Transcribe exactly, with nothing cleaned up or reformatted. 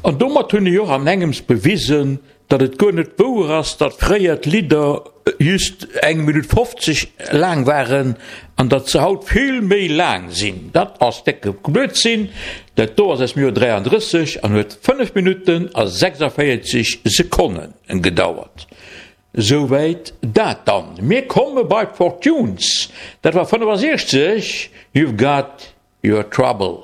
An domat hunn ech och an engems bewisen, datt et guer net wouer ass, datt fréier d'Lidder just eng Minutt fofzeg laang waren an datt se haut vill méi laang sinn. Dat ass décke Blödsinn. Dat do ass aus dem Joer dräiandrësseg an huet fënnef Minutten a sechsavéierzeg Sekonne gedauert. Souwäit dat dann. Mir komme bei d'Fortunes. Dat war fënnefasiechzeg, You've Got Your Trouble.